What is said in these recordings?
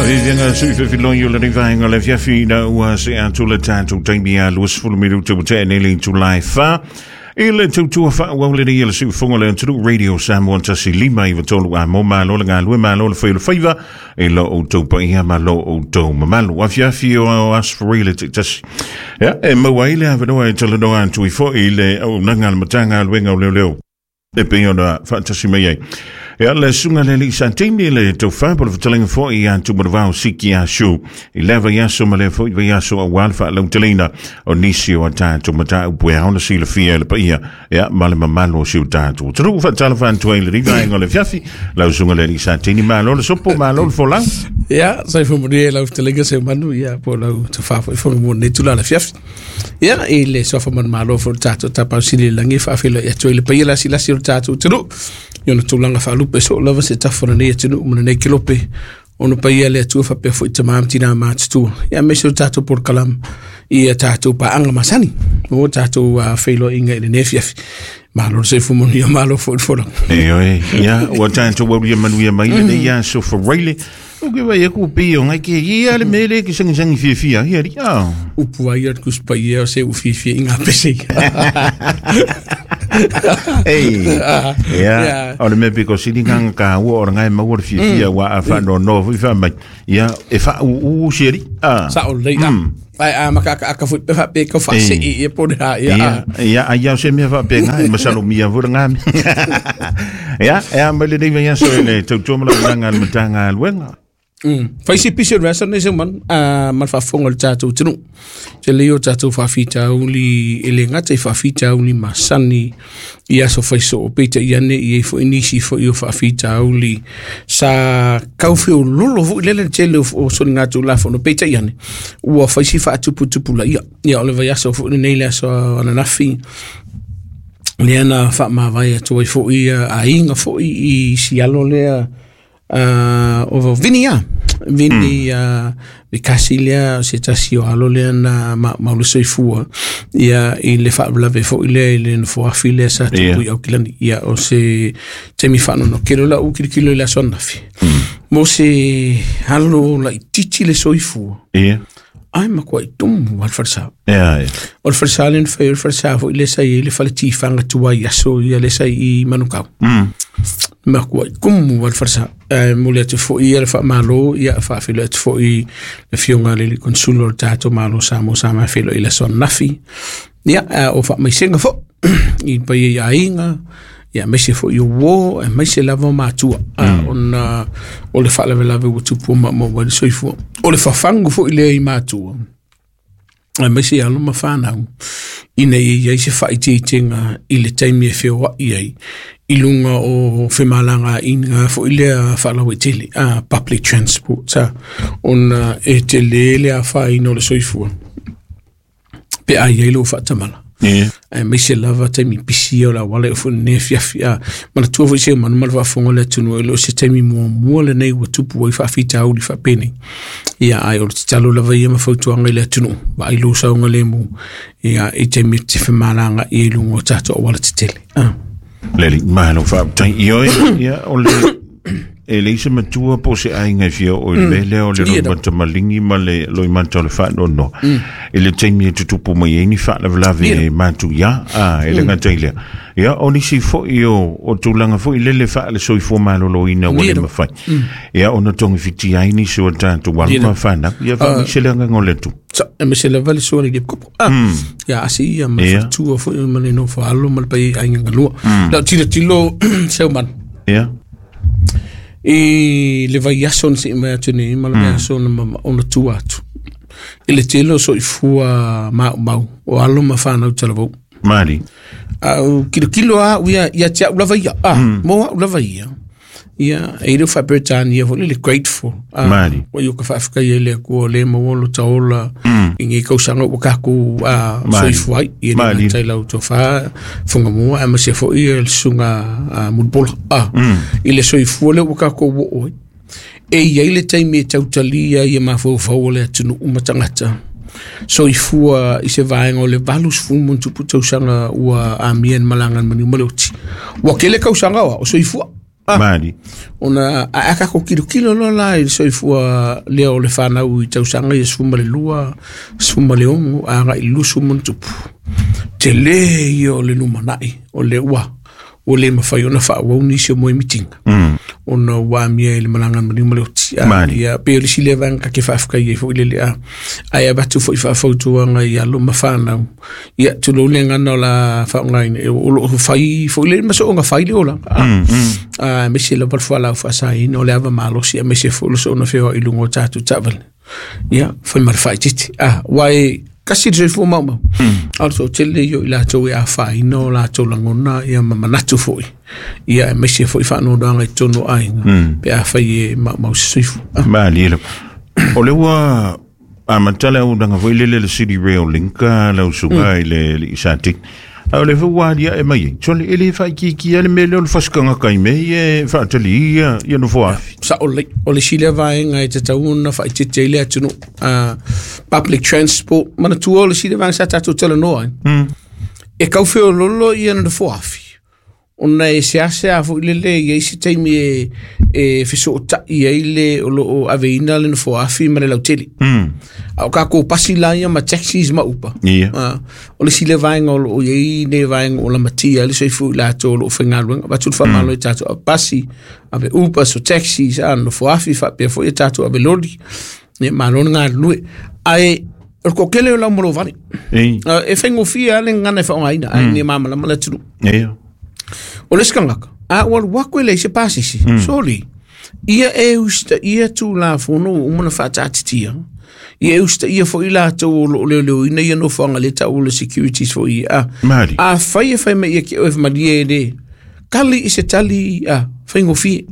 Faaviaviaga sui fefiloi o lenei vaega o le afiafi ina ua se atu le tatou taimi a 20 minuta ua tea nei le itula e 4 i le tautua faaauau lenei e le siufofoga o le atunuu Radio Samoa 1 5 9 3. A mo malo le galue, malo le fai o le faiva i lo outou paia ma lo outou mamalu. Afiafi o Aso Faraile taitasi, ia e maua ai le avanoa e talanoa atu ai foi i le auaunaga a le Matagaluega o Leoleo e pei ona faatasi mai ai. Ia le susuga le alii Satini le tofa po le fetalaiga foi ia Tumanuvao Siki Asu i lea vaiaso ma lea foi vaiaso aua le faalauteleina o nisi o a tatou mataupu e ao ona silafia e le paia, ia, ma le mamalu o si o tatou atunuu. Faatalofa atu ai i lenei vaega o le afiafi. Lau susuga le alii Satini, malo le sopo, malo le folau. Ia, soifua manuia i lau fetalaiga Seumanu, ia, po o lau tofa foi Fogamua i lenei itula o le afiafi. Ia, i le suafa manumalo foi o le tatou Tapaau Sili i le Lagi e faafeiloai atu ai le paia lasilasi o le tatou atunuu i ona tulaga faalupe soo lava se tafa o lenei atunuu ma lenei kelope ona paia le Atua faapea foi tama ma tina matutua. Ia, aemaise o le tatou polokalama i a tatou paaga masani o tatou feiloaiga i lenei afiafi. Malo le soifua manuia, malo foi le folau. Ioe, ia, ua tatou aulia manuia mai lenei aso Faraile. O ke vai aku pe o ngai ke ia le mele ke sangi sangi fia fia ia ri a. Upu ai o le Tusi Paia o se u fiafia i ngā pese. Ei, ia, o le mea piko sili nganga ka ua o ngai maua le fia fia wa a fa no no foi fa mai. Ia, e fa u u si ri. Ah. Sa o lei. Ai a maka aka aka foi pe fa pe ka fa se i e po ha ia. Ia, ia, ai au se mea fa pe ngai masalo mia fo ngā. Ia, e a mai le nei vai aso e le tautua ma la ngā le matanga luenga. Fai se pisi o le vasa nei se man a ma le faafofoga o le tatou atunuu. Tele ia o tatou faafitauli e le gata i faafitauli masani i aso faisoo, peitai ane i ai foi nisi foi o faafitauli sa kaufeololo foi lele le tele o soligatulafono, peitai ane ua fai si faatuputupulaia. Ia, o le vaiaso foi lenei, le aso ananafi lea na faamavae atu ai foi aiga foi i sialo lea o Vini ia Vini Vikasi lea se tasi o alo lea na maulu soifua ia i le faalavelave foi lea i le nofoafi lea sa tupu i Aukilani. Ia, o se taimi faanoanoa la u kilokilo i le aso ananafi mo se alo laitiiti le soifua ai makuai tumu al falesa. O le falesa lea na fai, o le falesa foi lea sa i ai le fale tifaga tuai aso ia lea sa i Manukau. Makuai kumu al falesa. E momoli atu foi ia le faamalo, ia faafeiloai atu foi le afioga i le Consul o le tatou Malo Samoa sa mafeiloai i le aso ananafi. Ia, o faamaisega foi i le paia i aiga, ia aemaise foi o uo, aemaise lava o matua, ona o le faalavelave ua tupu maumau ai le soifua. O le fafagu foi lea i matua, aemaise alo ma fanau, ina ia i ai se faaitiitiga i le taimi e feoai ai i luga o femalagaaiga foi lea faalauaitele, public transport, ona e tele le afaina o le soifua pe a i ai lou faatamala. Aemaise lava taimi pisi o le auala e foi lenei afiafi. A manatua foi se manu ma le faafofoga o le atunuu, e le o se taimi muamua lenei ua tupu ai faafitauli faapenei. Ia, ai o le tatalo lava ia ma fautuaga i le atunuu, vaai lou saogalemu ia i taimi e te femalagai i luga o tatou auala tetele. Leli, malo faafetai. Ioe, ia, o le e leai se matua po o se aiga e fia oo i le mea lea o le loimata maligi ma le loimata o le faanoanoa i le taimi e tutupu mai ai ni faalavelave e matuia. A e le gata i lea, ia, o nisi foi o tulaga foi lele faale-soifua maloloina ua le mafai ia ona togifitia ai nisi o tatou alo ma fanau. Ia faamaise le agaga o le Atua. Sa, aemaise lava le sua le kopo. Ia asi ia ma fatua foi ma le nofo alo ma le paia i aiga galua. Lau tilotilo seu man. I le vaiaso na sei mai atu nei ma le vaiaso na ona tua atu. I le tele o soifua maumau o alo ma fanau talavou. Mali. Au kilokilo a ia ia te au lava ia. Ah, mo au lava ia. Ia, e le faa-Peretania foi le grateful. Ah, Mali. Ua ia ka faafetai ai le Atua o lea maua lo taola i nei tausaga ua tatou soifua ai. Ia le gata i lau tofa Fogamua aemaise foi le susuga Mulipola. Ah, i le soifua lea ua tatou oo ai. E i ai le taimi e tautalia ia mafaufau o le atunuu ma tagata soifua i se vaega o le 80 tausaga ua amia i le malaga a le maliu ma le oti. Ua tele tausaga oa o soifua. Mali. Ona a ka ko kilo kilo lo la i soifua lea o le whanau i tausaga ia 12, 16 a ga i lusu mun tupu. Te le ia o le lumanai o le ua o le mawhai ona whaawau nisi o moe mitinga. Ona ua mia i le malanga mani ma le oti. Ia pe o le sile vanga ka ke whaafka i fo i le lea. Ai abatu fo i whaafautuanga i alo ma whanau. Ia tulo le ngana o la whaongaina. E o lo whai fo i le maso o nga whai le ola. Mese la palfua lau whasaina o le ava malosi a mese fo lo so ona whio i lungo tātu tawale. Ia, whai mara whai titi. Wai kasi te soifua maumau. Also, tele io i lātou e āwhaina o lātou langona ia ma manatu foi. Ia e meise foi whaanodoanga i tono ainga. Pe āwhai e maumau se soifua. Mali le. O le ua a matala au danga foi lele le City Rail Link lau suga i le isatik. A o le fua alia e mai. Tole ele whai ki ki ale me le o le whaskanga kai me e whaatali ia ia no foafi. Sa o le sile vaenga e te tauna whai te te le atunu. Public transport mana tua o le sile vaenga sa tātou tele noa. E kauwheo lolo ia na foafi. Ona e se ase a fo ile ia isi taimi e whiso o tai e ile o lo o aveina le na foafi ma le lautele. A o kako pasi la ia ma taxis ma upa. O le sile vaenga o lo o iei ne vaenga o la matia le soifu i lātou o lo o whaingaluenga. Watu le whamalo i tātou a pasi, ave upa so taxis, a no foafi whapea fo i tātou ave lori. Ne malona ngā lue. Ai, o ko kele o lau molo vale. E whaingofia le ngana e whaongaina. Ai ne mamalama la tunu. O le skangaka, a o alu wako ele se pasisi, sorry. Ia e usta, ia tū la fono o umana whaatatitia. Ia e usta, ia fo i lātou o lo leo leo ina ia no whanga le tau o le securities fo i. A whai e whai me ia ki oe whamalie e le. Kali i se tali, a whaingofie.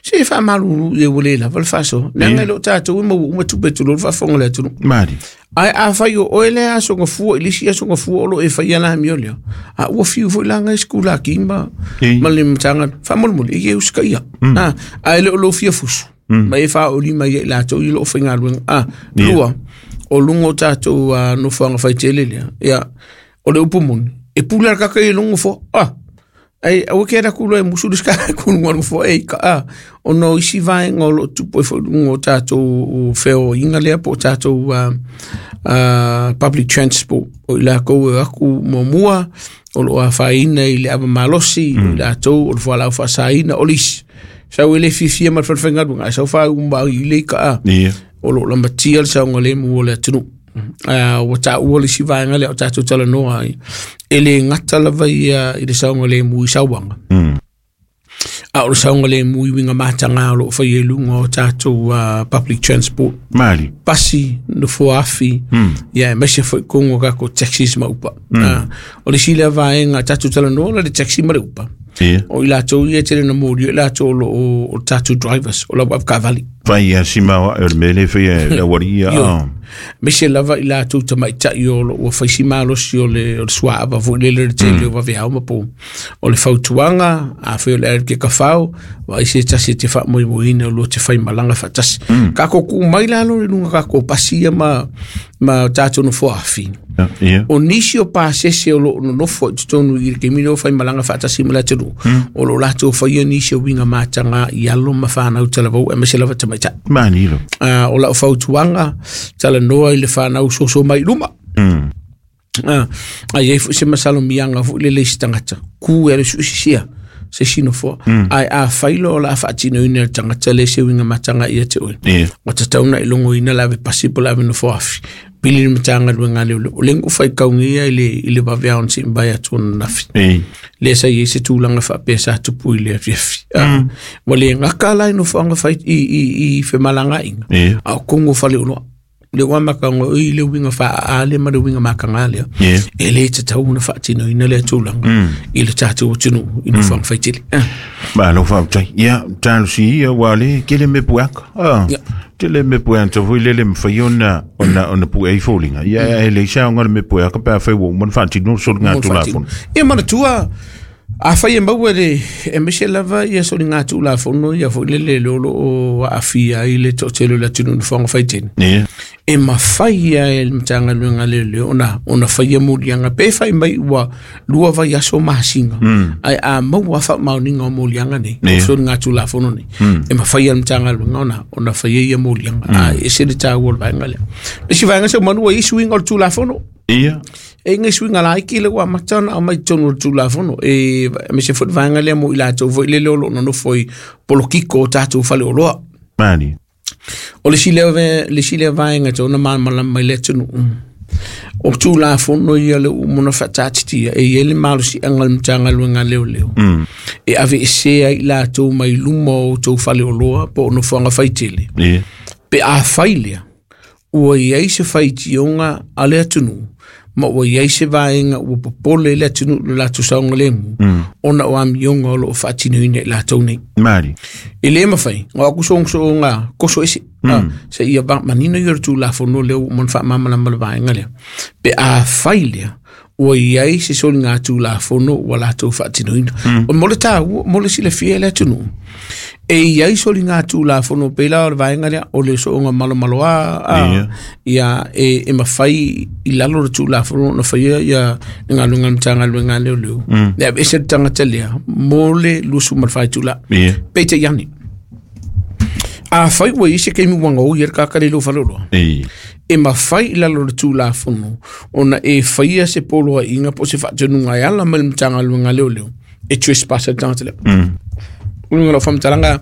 Se e wha malu e wale la, wale whaso. Nanga i lo tātou ima uma tupe tulu, wha whanga le atunu. Mali. Ai a whai o oele a songa fua, ilisi a songa fua olo e whai ana hami olea. A ua fiu fo ilanga i skula ki ma le matanga, wha mole e uska ia. A ele o lo fia fusu. Ma e wha o lima ia i lātou i lo o whainga luenga. Lua, o lungo tātou no whanga whai tele lea. Ia, o le upu moni. E pula kaka i lungo fo, Ai, au ke ra kulo e musu ska ku ngwa fo e ka o no isi vaenga o lo tupu e fo lungo tātou feo inga lea po tātou public transport o i la kou e aku mua o lo a whaina i le ava malosi o i lātou o le whalau whasaina o lisi. Sau ele fifia ma whalwhenga sau wha umba i le ka o lo la matia le saunga le mu o le atunu. O tā ua le si vaenga le o tātou tala noa e le ngata lava ia i le saunga le mu i sauanga. A o le saunga le mu i winga mātanga o lo whai e lunga o tātou public transport. Mali. Pasi, no foafi, ia e mesia fo i kongo kako taxis ma upa. O le sile vaenga tātou tala noa le taxi ma le upa. O i lātou ia tele na mōri, o i lātou o tātou drivers, o lau avkavali. Whai ia sima o le mele whai e la waria. Mese lava i lātou tamaitai o ua whaisi malosi o le suaava fo i lele le tele o wawe hau mapo. O le fautuanga, a whai o le arike ka whau, wa isi e tasi te wha moi moina o lua te whai malanga whatasi. Kako ku mai lalo le lunga kako pasia ma tātou no foafi. O nisi o pāsese o lo nofo i tonu i le kemino o whai malanga whatasi ma lātou. O lo lātou whai o nisi o winga mātanga i alo ma whanau talavau e mese lava tamaitai. Manilo. O lau fautuanga tala noa i le whanau soso mai luma. Ai e se masalo mianga fu le leisi tangata. Ku e le suisisia se sino fo. Ai a whailo o la whaatino ina le tangata le se winga matanga ia te oe. O tatauna i longo ina lawe pasipo lawe no foafi. Pili ni matanga luenga le o lengu whai kaungia i le waweaon si mbai atuana nafi. Le sa i se tūlanga whapea sa tupu i le awhiawhi. Wa le ngaka lai no whaanga whai i whemalanga inga. A o kongo whale unoa. Le wamaka ngo i le winga wha a le ma le winga makanga lea. E le te tauna whaatino ina le tūlanga. I le tātou o tunu i no whaanga whai tele. Ma lo whautai. Ia, tālu si ia wale, kele me puaka. Tele me puaka, tau lele mwhai ona pua i fōlinga. Ia, e le isa o ngā me puaka, pā whai wau, mana whaatino, solo ngā tū lāfono. Ia, mana tua, Afai e maua le e aemaise lava ia soligatulafono ia foi lele le o loo aafia ai le toatele o le atunuu i nofoaga faitele. E mafai lava e le Matagaluega a Leoleo ona faia moliaga pe fai mai ua lua vaiaso masina, ae a maua faamaoniga o moliaga nei, o soligatulafono nei, e mafai e le Matagaluega ona faia ia moliaga. Ae ese le taua o le vaega lea. Le isi vaega seumanu ua i ai suiga o le Tulafono. E i ai suiga laiti lea ua amata ona aumai i totonu o le Tulafono, e aemaise foi le vaega lea mo i latou foi lele o lo o nonofo i polokiko o tatou faleoloa. O le isi lea vaega e tatau ona malamalama mai le atunuu, o Tulafono ia lea ua uma ona faataatitia, e i ai le malosiaga o le Matagaluega a Leoleo e aveesea ai i latou mai luma o outou faleoloa po o nofoaga faitele, pe a fai lea ua i ai se faitioga a le atunuu ma ua i ai se vaega ua popole le atunuu i lo latou saogalemu ona o amioga o lo o faatinoina i latou nei. E le mafai, o aku sogosogoga koso ese, se ia manino ia o le Tulafono lea ua uma ona faamalamalama le vaega lea. Pe a fai lea, ua i ai se soligatulafono ua latou faatinoina. O mo le taua, mo le silafia e le atunuu, e i ai soligatulafono pei la o le vaega lea o le sooga malomaloa a, ia e mafai i lalo o le Tulafono ona faia ia le galuega a le Matagaluega a Leoleo, e aveese le tagata lea mo le 24 itula. Peitai ane, afai ua i ai se taimi ua gaoi ai le tagata lea i lou faleoloa, e mafai i lalo o le Tulafono ona e faia se poloaiga po o se faatonuga e ala mai le Matagaluega a Leoleo e trespass ai le tagata lea. O luga o lau faamatalaga,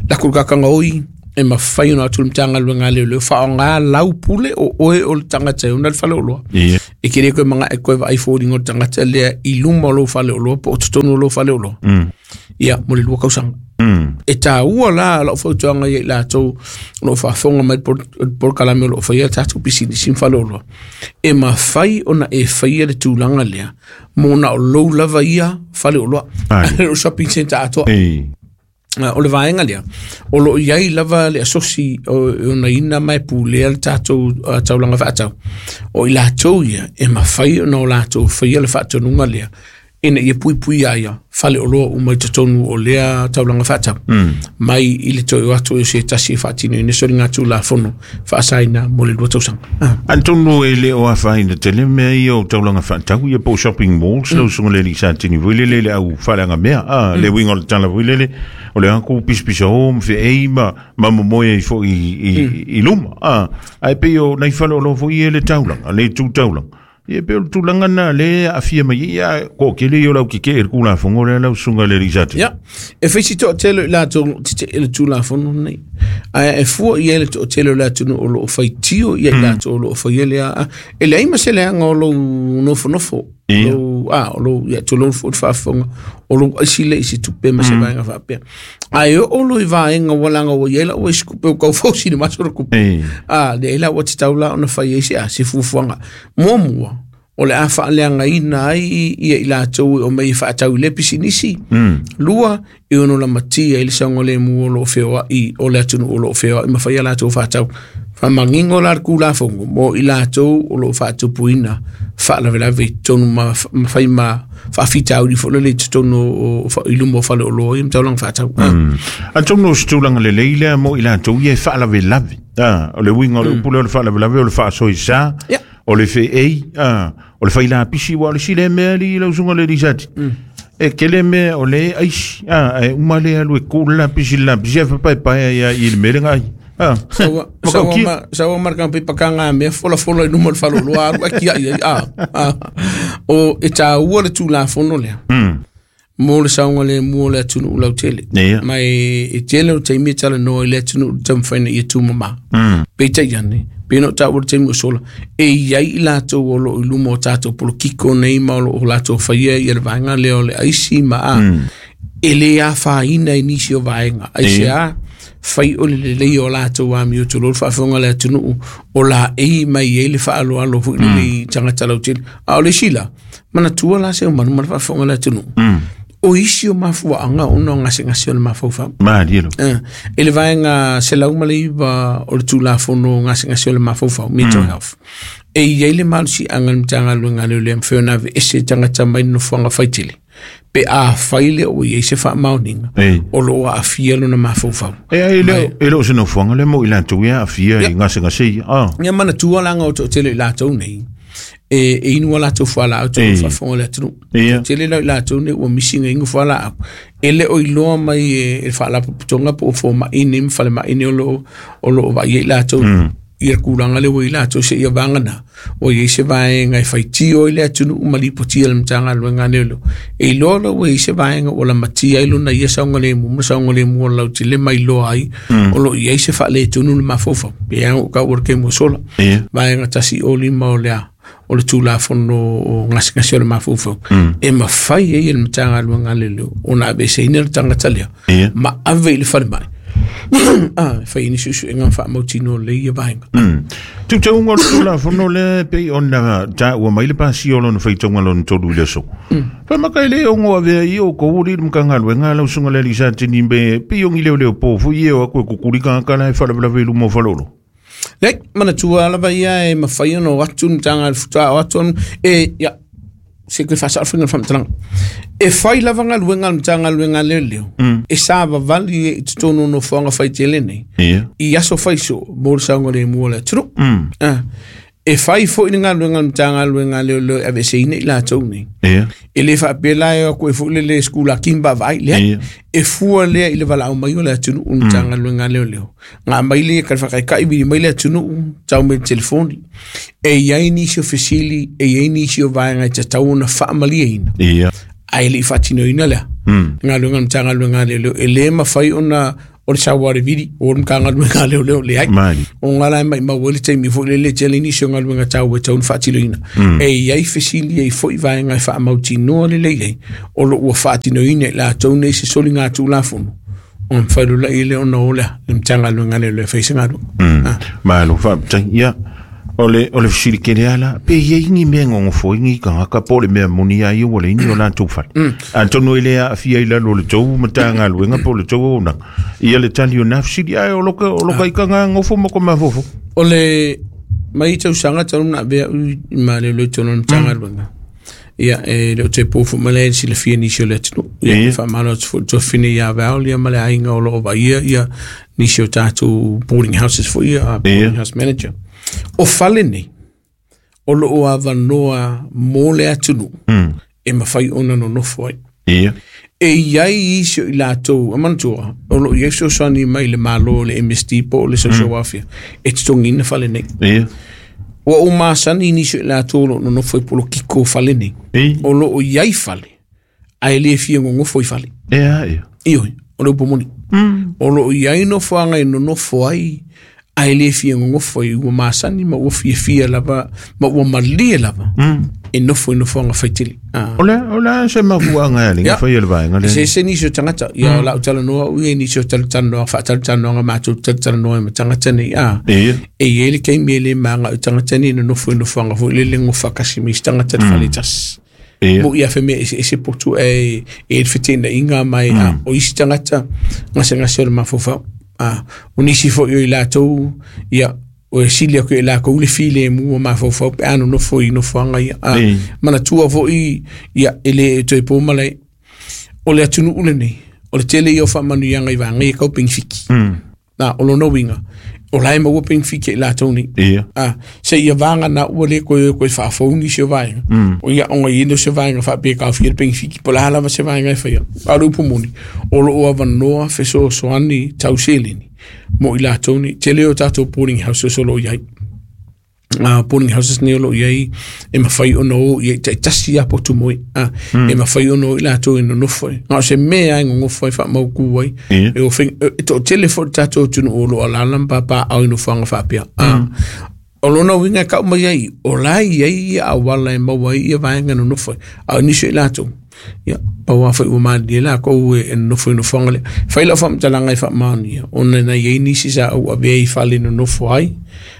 lako le tagata gaoi, e mafai ona atu le Matagaluega a Leoleo faaaoga lau pule o oe o le tagata e ona le faleoloa. E te le toe manaʻo e toe vaai foliga o le tagata lea i luma o lou faleoloa po o totonu o lou faleoloa. Ia, mo le 2 tausaga. E taua la lau fautuaga ia i latou o lo o faafofoga mai le polokalame o lo o faia tatou pisinisi ma faleoloa. E mafai ona e faia le tulaga lea mo na o lou lava ia faleoloa. O shopping center atoa. O le vaega lea, o lo o i ai lava le asosi o onaina ma e pulea le tatou taulaga faatau. O i latou ia, e mafai ona o latou faia le faatonuga lea, ina ia puipuia ai faleoloa uma i totonu o lea taulaga faatau. Mai i le toe o atu o se tasi e faatinoina soligatulafono faasaina mo le 2 tausaga. Atonu e le o afaina tele mea ia o taulaga faatau ia po o shopping malls, lau susuga le alii Satini foi lele le au faaleaga mea, le uiga o le tala foi lele, o le aku pisapisa o ma feei ma momoe ai foi i luma. Ae pei o nai faleoloa foi ia le taulaga, le tu taulaga. Ia pei o le tulaga lena lea e aafia mai ai, ia toatele ia o le au tetee i le Tulafono lea lau susuga i le alii Satini. Ia, e fai si toatele o i latou o lo o tetee i le Tulafono lenei. Ae e fua i ai le toatele o le atunuu o lo o faitio ia i latou o lo o faia lea. E leai ma se leaga o lou nofonofo, lou, o lou, ia, tulou foi le faafofoga, o lou aisi lea i se tupe ma se vaega faapea. Ae oo loa i vaega ua laga ua i ai lau isi kupe ua tau fausi i le maso le kupe. Leai la ua tatau la ona fai ai se a, se fuafuaga. Muamua, o le a faaleagaina ai ia i latou e omai e faatau i lea pisinisi. Lua, e ono lamatia ai le saogalemu o lo o feoai o le atunuu o lo o feoai ma fai a latou faatau. Faamanino la le Tulafono mo i latou o lo o faatupuina faalavelave i totonu ma fai ma faafitauli foi lele i totonu o i luma o faleoloa ia ma taulaga faatau. Atonu o se tulaga lelei lea mo i latou ia e faalavelave. O le uiga o le upu lea o le faalavelave o le faasoesa, o le feei, o le fai lapisi, ua o le isi lea mea alii lau susuga i le alii Sati. E tele mea o le aisi, ae uma lea alu e tu le lapisi i le lapisi ae fapaepae ai lava i le mea le aai. Saua saua marka pe pakanga mea fola fola i luma o le faleoloa alu ai tiai ai o e taua le Tulafono lea mo le saogalemu o le atunuu lautele. Ma e tele o taimi e talanoa i le atunuu i le taumafaiga ia tumama. Peitai ane, pei ona ou taua i le taimi ua sola, e i ai i latou o lo o i luma o tatou polokiko nei ma o lo o latou faia ia le vaega lea o le aisi ma a, e le afaina i nisi o vaega. Aisea? Fai o le lelei o latou amio tulou le faafofoga a le atunuu o laei mai ai le faaaloalo foi lele i tagata lautele. A o le isi la, manatua la se manu ma le faafofoga a le atunuu. O isi o mafuaaga ona o gasegase o le mafaufau. Malie lo. I le vaega 109 o le Tulafono o gasegase o le mafaufau, mental health, e i ai le malosiaga i le Matagaluega a Leoleo e mafai ona aveese tagata mai le nofoaga faitele. Pe afai le o iai se faamaoniga o loo aafia lona mafaufau. E le o se nofoaga le mo i latou ia aafia i gasegase ia. Ia manatua laga o toatele i latou nei e inu a latou fualaau tonu faafofoga o le atunuu. Tele la i latou nei ua misi ina inu fualaau. E le o iloa mai e le faalapotopotoga po o fomai nei ma falemai nei o loo vaai ai latou ia tulaga lea ua i latou seia vagana ua iai se vaega e faitio ai le atunuu ma lipotia le Matagaluega a Leoleo. E iloa la ua iai se vaega ua lamatia ai lona ia saogalemu ma saogalemu o le lautele ma iloa ai o loo iai se faaletonu le mafaufau. Pe a ou tau o le taimi ua sola. Vaega 105 o le a o le Tulafono o gasegase o le mafaufau e mafai ai e le Matagaluega a Leoleo ona aveeseina le tagata lea ma ave i le falemai fai ni suesuega faamautinoa lelei ia vaega. Teuteuga o le Tulafono lea e pei ona taua mai le pasia o lona faitauga lona tolu i le aso. Faimaka e le ono avea i o kou li le Matagaluega lau susuga le alii Satini me pei o ni leoleo po foi e o atu e kukuli tagata la e faalavelave i luma o faleolo. Leai, manatua lava ia e mafai ona o atu le Matagaluega faatoa o atu e ia se koe faasao le faiga o le faamatalaga. E fai lava galuega a le Matagaluega a Leoleo e savavali ai i totonu o nofoaga faitele nei i aso faisoo mo le saogalemu o le atunuu. E fai foi le galuega a le Matagaluega a Leoleo e aveeseina i latou nei. E le faapea la e o atu ai foi le sekulaki ma vaavaai, leai. E fua lea i le valaau mai o le atunuu i le Matagaluega a Leoleo. Ga mai le ka whakaikai vili mai le atunuu, tau mai le telefoni. E iai nisi o fesili, e iai nisi o vaega e tatau ona faamalieina. Ae le i faatinoina lea. Galuega a le Matagaluega a Leoleo, e le mafai ona o le sau lava o le vili o le Matagaluega a Leoleo, leai. O ngā la e maimau ai le taimi foi lele tele nisi o galuega taua e tatau ona faatinoina. E iai fesili, e iai foi vaega e faamautinoa lelei ai o lo o ua faatinoina e latou nei se soliga Tulafono ona mafai loa lea ona o lea le Matagaluega a Leoleo e fai se galuega. Malo faafetai. Ia, o le fesili tele lava la, pe i ai ni mea e nonofo ai ni tagata po o le mea moni lava ia ua leai ni o latou fale. Atonu e le aafia i lalo o le tou Matagaluega po o le tou auaunaga ia le tali o na fesili, ae o loka ika ngā nofo ma ko mafaufau. O le mai tausaga talu na avea au i ma leoleo i totonu o le Matagaluega. Ia, e le o toe po foi mai le silafia nisi o le atunuu. Ia, faamalo atu foi i le tuafafine ia Val ia ma le aiga o lo o vaaia ia nisi o tatou boarding houses foi ia, boarding house manager. O fale nei, o lo o avanoa mo le atunuu e mafai ona nonofo ai. E i ai isi o i latou, a manatua, o lo o i ai fesoasoani mai le Malo, le MSD po o le Social Welfare, e totogiina fale nei. Ua ou masani nisi o i latou o lo o nonofo i polokiko o fale nei. O lo o i ai fale, ae le fia nonofo i fale. Ioe, o le upu moni. O lo o i ai nofoaga e nonofo ai, ae le fia nonofo ai, ua masani ma ua fiafia lava, ma ua malie lava, e nofo i nofoaga faitele. O le a se mafuaaga e alii fai e le vaega lea? Se nisi o tagata, ia o lau talanoa au ia nisi o talatalanoaga, faatalatalanoaga matou talatalanoa ai ma tagata nei, E i ai le taimi e le maga i tagata nei e nonofo i nofoaga foi lele gofa tasi ma isi tagata i le fale tasi. Mo ia fe mea eseese potu e e le feteenaiga ma e o isi tagata gasegase o le mafaufau. O nisi foi o i latou, ia, o e sili atu i latou le filemu o mafaufau pe a nonofo i nofoaga ia. Manatua foi, ia, e le toe po malae. O le atunuu lenei, o le tele ia o faamanuiaga i vaega ia tau penefiti. Na, o lona uiga, o la e maua penefiti i latou nei. Seia vagana ua le toe o toe faafou nisi o vaega. O ia ona i ai lea o se vaega faapea e taofia le penefiti, po o le a lava se vaega e faia. A o le upu moni, o lo o avanoa fesoasoani tau seleni mo i latou nei. Tele o tatou boarding houses o lo o i ai. Boarding houses nei o lo o i ai e mafai ona o i ai taitasi lava potu moe. E mafai ona o i latou e nonofo ai. Na o se mea lava e nonofo ai faamautu ai. E o e toatele foi le tatou atunuu o lo o alaala ma papaaao i nofoaga faapea. O lona uiga e tau mai ai, o la e i ai ia auala e maua ai ia vaega e nonofo ai. A o nisi o i latou, ia, pau lava foi ua malilie latou e nonofo i nofoaga lea. Fai lau faamatalaga e faamaonia, ona na i ai nisi sa ou avea i fale e nonofo ai,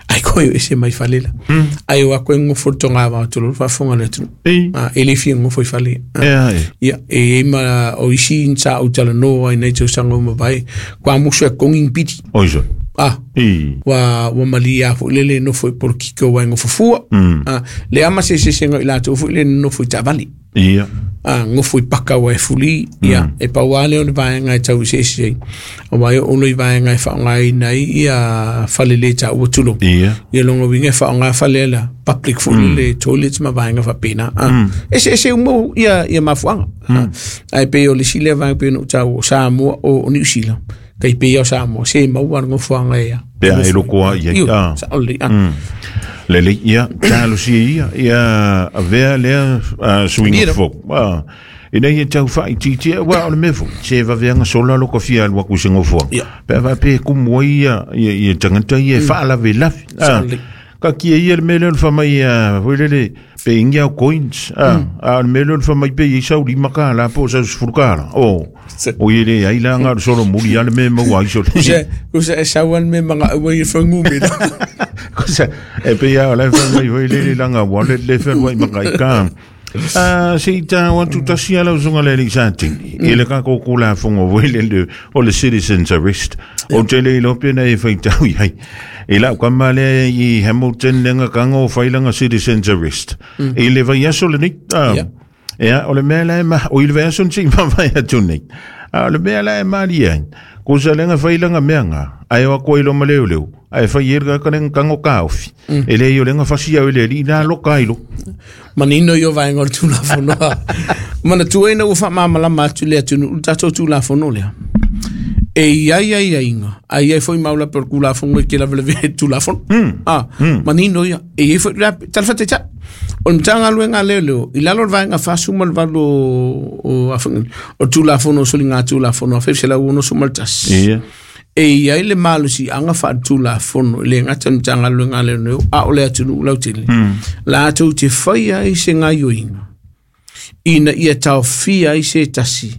ae koe o ese mai fale la. Ae o atu e nonofo i le togavao tulou le faafofoga a le atunuu. E le fia nonofo i fale. Ia, e i ai ma o isi sa ou talanoa ai nei tausaga ua mavae, kua musu e togi ni pili. Ua malie lava foi le le nofo i polokiki o waenga o fafua. Leai ma se eseesega o i latou foi le nonofo i taavale. Ia. A gofo i paka ua e fulī, ia, e pau lava lea o le vaega e tau eseese ai, auā e oo loa i vaega e faaaogaina ai ia fale le taua tulou. Ia. Ia lona uiga e faaaoga fale ala public foi lele, toilets ma vaega faapena. A eseese uma ia ia mafuaaga. Ae pei o le isi lea vaega pei ona ou taua, o Samoa o Niu Sila, tai pei lava o Samoa, se e maua lava le nofoaga e Pe a e loko a i ai. Ioe, sao lelei. Lelei, ia, talosia ia, ia avea lea suiga fou. Ina ia tau faaitiitia, aua o le mea foi, se vaveaga sola lo ka fia alu atu i se nofoaga. Pe a faapea e kumu ai ia, ia, ia tagata ia e faalavelave. Taatia ia le mea lea o le fai mai, foi lele, pe ingi au coins, a o le mea lea o le fai mai pe i ai sau $5 po o sau $10. O i e leai la na o le solomuli lava le mea e maua ai so Kusa e sau lava le mea magaau ai e fuainumera. Kusa, e pei lava o la e fai mai foi lele lana wallet le fealuai ma kaika. Se i tau atu tasi a lau susuga le alii Satini i le tatou Tulafono foi lele o le Citizens Arrest. Ou te le iloa pe na e faitau i ai. I lau tama lea i Hamilton lea na tago fai lana Citizens Arrest. I le vaiaso lenei. Ea, o le mea la e ma, o i le vaiaso na sei mavae atu nei. A o le mea la e malie ai, kusa lea na fai lana mea na, ae o atu ai loa ma leoleo, ae fai ai le tagata lea na tago taofi. E leai o lea na fasi au e le alii la loka ai loa. Manino ia o vaega o le Tulafono. Manatua ina ua faamalamalama atu le atunuu le tatou Tulafono lea. E i ai aiaiga, ae i ai foi maulape o le Tulafono e te lavelavea i le Tulafono. Ah, manino ia. E i ai foi la, tala faataitai. O le Matagaluega a Leoleo, i lalo o le Vaega 48 o, o, o le Tulafono o Soligatulafono 1961. Ia. E i ai le malosiaga faaletulafono e le gata i le Matagaluega a Leoleo a o le atunuu lautele, latou te faia ai se gaoioiga ina ia taofia ai se tasi.